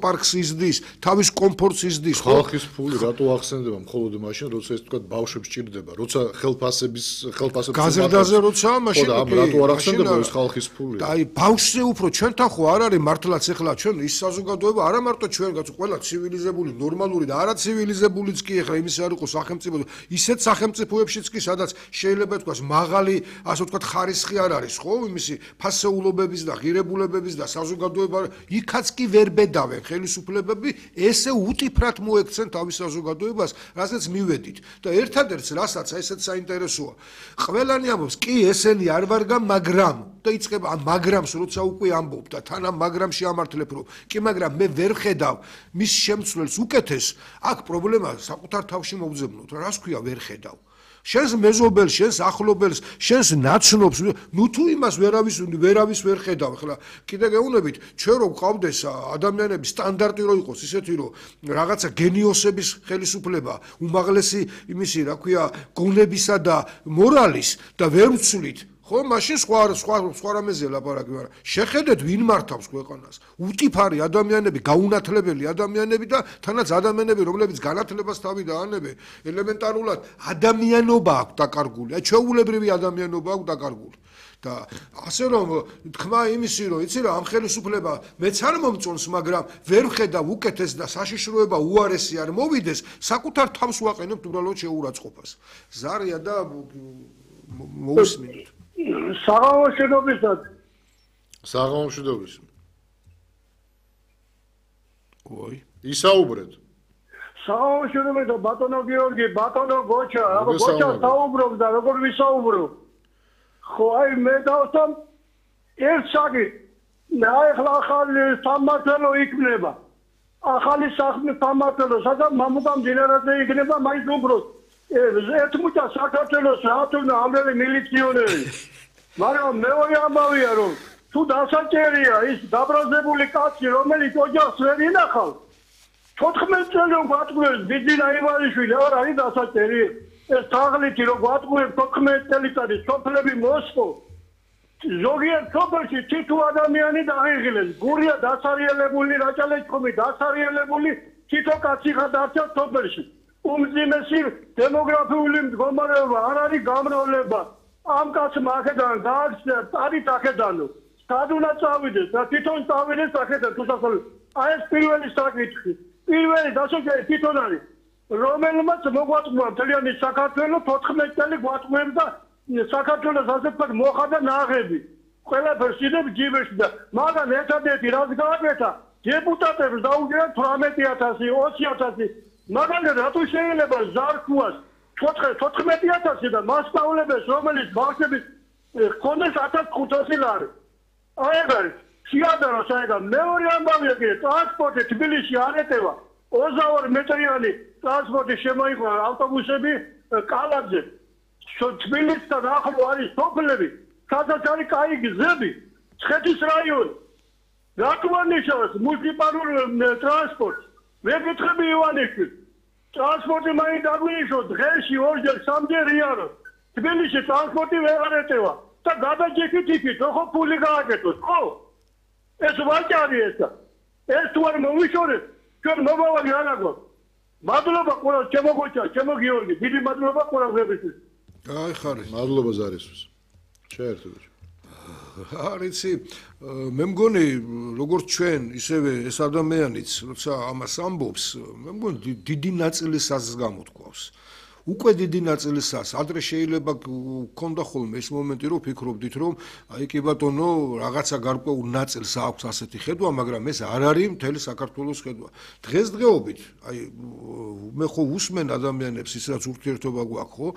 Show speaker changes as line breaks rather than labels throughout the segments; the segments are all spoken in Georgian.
აკвაპარკს იზრდის, თავის კომფორტს იზრდის.
ხალხის ფული რატო ახსენდება მხოლოდ მაშინ, როცა ეს თქვა ბავშვებს ჭირდება, როცა ხელფასების
გაზრდაზე როცა მაშინ
რატო არ ახსენდება ეს ხალხის ფული?
და აი ბავშვზე უფრო ჩვენთან ხო არ არის მართლაც ეხლა ჩვენ ის საზოგადოება არა მარტო ჩვენ ყველა ცივილიზებული, ნორმალური და არაცივილიზებულიც კი ეხლა იმის არ იყო სახელმწიფო, ისეთ სახელმწიფოებშიც კი სადაც შეიძლება თქვას მაღალი, ასე ვთქვათ, ხარისხი არ არის, ხო, იმისი ფასეულობების და ღირებულებების და საზოგადოება იქაც კი ვერ ბედავენ ხელისუფლებები, ესე უტიფრად მოექცენ თავის საზოგადოებას, რასაც მივედით. და ერთადერთს რასაც ესეც საინტერესოა. ყველანი ამბობს, კი ესენი არ ვარგა, მაგრამ და იწყება ამ მაგრამს როცა უკვე ამბობ და თან ამ მაგრამში ამართლებ რომ კი მაგრამ მე ვერ ხედავ მის შემცვლელს უკეთეს, აქ პრობლემა საკუთარ თავში მოვძებნოთ, რას ქვია ვერ ხედავ. შენს მეზობელს, შენს ახლობელს, შენს ნაცნობს, ნუ თუ იმას ვერავის ვერ ხედავ. ახლა კიდე გეუბნებით, ჩვენ რო გვყავდეს ადამიანების სტანდარტი რო იყოს ისეთი რომ რაღაცა გენიოსების ხელისუფლება, უმაღლესი იმისი, რა ქვია, გონებისა და მორალის და ვერ ვცვლით ხო, მაშინ სხვა რამეზია ლაპარაკი, მაგრამ შეხედეთ ვინ მართავს ქვეყანას. უტიფარი ადამიანები, გაუნათლებელი ადამიანები და თანაც ადამიანები, რომლებიც განათლებას თავი დაანებენ, ელემენტარულად ადამიანობა აქვს დაკარგული, ჩვეულებრივი ადამიანობა აქვს დაკარგული. და ასე რომ თქმა იმისი რომ იცი რა ამ ხელისუფლება მეც არ მომწონს, მაგრამ ვერ ვხედავ უკეთეს და საშიშროება უარესი არ მოვიდეს, საკუთარ თავს ვაყენებთ უბრალოდ შეურაცხყოფას. ზარია და მოусმინოთ.
საღამოშიდობის.
ой.
ისაუბრეთ.
საღამოშიდობის და ბატონო გიორგი, ბატონო გოჩა, გოჩა საუბრობს და როგორ ვისაუბრო? ხო, აი მე დავსამ ერთ საკითხი. აი ახლა ახალი სამმართველო იქნება. ახალი სამმართველო, სადაც მამუკამ ჯენერალზე იქნება მაინც უბრალოდ. ერთ მუჭა საქართველოს რატონა ამელი მილიციონერი. მაგრამ მეორე ამბავია რომ თუ დასაჭერია ის დაბრაზებული კაცი, რომელიც ოჯახს ვერ ინახავს, 14 წელი გვატყუებს ბიძინა ივანიშვილი, არ არის დასაჭერი. ეს თაღლითი რომ გვატყუებს 14 წელიწადი სოფლები მოსკო. ზოგიერთ სოფელში თითო ადამიანი დაიღილეს. გურია დასარიელებული, რაჭალეჩხუმი დასარიელებული, თითო კაცი ხადარჩა სოფელში. უმძიმესი დემოგრაფიული მდგომარეობა არ არის გამრავლება. ამ კაცმა აქედან გააქცია წარით აქედანო. სად უნდა წავიდეს და თვითონ წავიდეს აქედან თუსასწავლო. აი ეს პირველი საკითხი. პირველი დასაჭერი თვითონ არის. რომელმაც მოგვატყუა მთლიანი საქართველო 14 წელი გვატყუებს და საქართველოს ასე ვთქვათ მოხდა ნაღები. ყველაფერს იდებ ჯიბეში და მაგრამ ერთადერთი რაც გააკეთა დეპუტატებს დაუჭერა 18,000, 20,000 მაგრამ რატო შეიძლება ზარქუას 14,000 და მასწავლებელს რომელიც ბავშვების ქონდეს 1,500 ლარი. აი ეგ არის შეადარო საერთოდ მეორე ამბავია კი ტრანსპორტი თბილისში არ ეტევა 22 მეტრიანი ტრანსპორტი შემოიყვა ავტობუსები კალათზე. თბილისთან ახლო არის სოფლები, სადაც არის კაი გზები, ცხეთის რაიონი. რატო ანიშნავს მუნიციპალური ტრანსპორტი? მე გითხები ივანიშვილ, ტრანსპორტი მაინც დაგვინიშნო დღეში 2-ჯერ 3-ჯერ იარო. თბილისში ტრანსპორტი ვეღარ ეტევა და გადაჭიქით იქით, ხო ფული გააკეთოს, ხო? ეს ვაჭარი ესა. ეს თუ არ მოვიშორეთ, ჩვენ მომავალი არ აგვაქვს. მადლობა ყველას, ჩემო გოჩა, ჩემო გიორგი, დიდი მადლობა ყველასთვის.
აი ხარი.
მადლობა ზარისთვის. შეერთებოდეთ.
არიცი, მე მგონი როგორც ჩვენ, ისევე ეს ადამიანიც, როცა ამას ამბობს, მე მგონი დიდი ნაწილისას გამოთქვავს. უკვე დიდი ნაწილისას, ადრე შეიძლება გქონდა ხოლმე ეს მომენტი, რომ ფიქრობდით, რომ აი კი ბატონო, რაღაცა გარკვეულ ნაწილს აქვს ასეთი ხედვა, მაგრამ ეს არ არის მთელი საქართველოს ხედვა. დღესდღეობით, აი მე ხო უსმენ ადამიანებს ის რაც ურთიერთობა გვაქვს, ხო?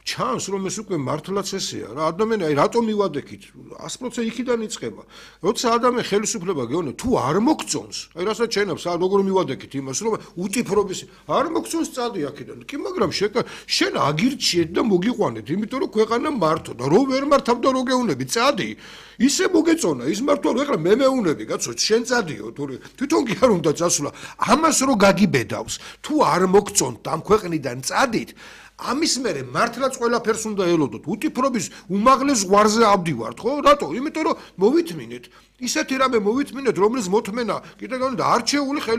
ჩანს რომ ეს უკვე მართლაც ესეა რა ადამიანი აი რატომ მივადექით 100% იქიდან იწყება როცა ადამიანი ხელისუფლება გეუბნება თუ არ მოგწონს აი რასაც შენებს როგორ მივადექით იმას რომ უტიფრობის არ მოგწონს წადი აქედან კი მაგრამ შენ აგირჩიეთ და მოგიყვანეთ იმიტომ რომ ქვეყანა მართო და რო ვერ მართავ და რო გეუნები წადი ისე მოგეწონა ის მართვა რომ ეხლა მე მეუნები კაცო შენ წადიო თვითონ კი არ უნდა წასვლა ამას რო გაგიბედავს თუ არ მოგწონთ ამ ქვეყნიდან წადით ამის მერე მართლაც ყველაფერს უნდა ელოდოთ. უტიფრობის უმაღლეს ზღვარზე ავდივართ, ხო? რატო? იმიტომ რომ მოვითმინეთ. ისეთი რამე მოვითმინეთ, რომლის მოთმენა კიდე განდა არჩეული